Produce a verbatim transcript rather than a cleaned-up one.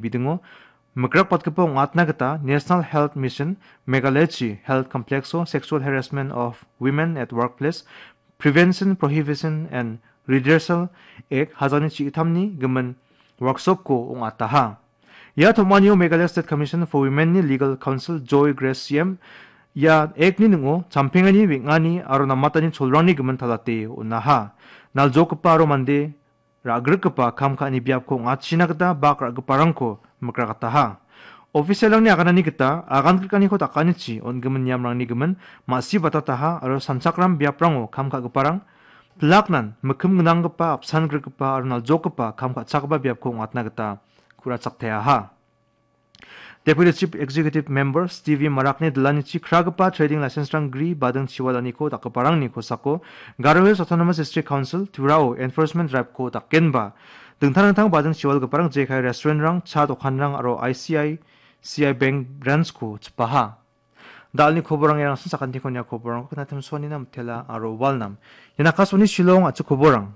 bidingo mikrakbatgipa ong·atna gita National Health Mission Meghalayachi Health Complexo Sexual Harassment of Women at Workplace Prevention, Prohibition and Redressal Act hajani chigitamni gimin workshopko ong·ataha. Ia tom·anio Meghalaya State Commission for Women-ni Legal Counsel Joy Grace C M ia Act-ni ning·o champengani, weng·ani aro namatani cholrangni gimin talate on·aha. Naljogipa aro mande ra·grikgipa kam ka·ani biapko ong·atchina gita bak ra·giparangko mikrakataha. Official-rangni aganani gita agan grikaniko dakanichi on·gimin niamrangni gimin ma·si batataha aro sanchakram biaprango kam ka·giparang pilaknan mikkim gnanggipa, apsan grikgipa aro naljokgipa kam ka·chakgipa biapko ong·atna gita ku·rachakteaha. Deputy Chief Executive Member Stevie Marakni dilanichi kragipa trading license-rang gri bading chiwalaniko dakgiparangni kosako Garo Hills Autonomous District Council Twirao enforcement drive-ko dakenba dingtang dingtang bading chiwalgiparang jekai restaurant-rang, cha dokanrang aro I C I C I Bank branch-ko chipaha. Dalni koborang iarangsan sakantiko nia koborangko knatim sonina mitela aro walnam. Ian Akashvani Shillong a·chik koborang.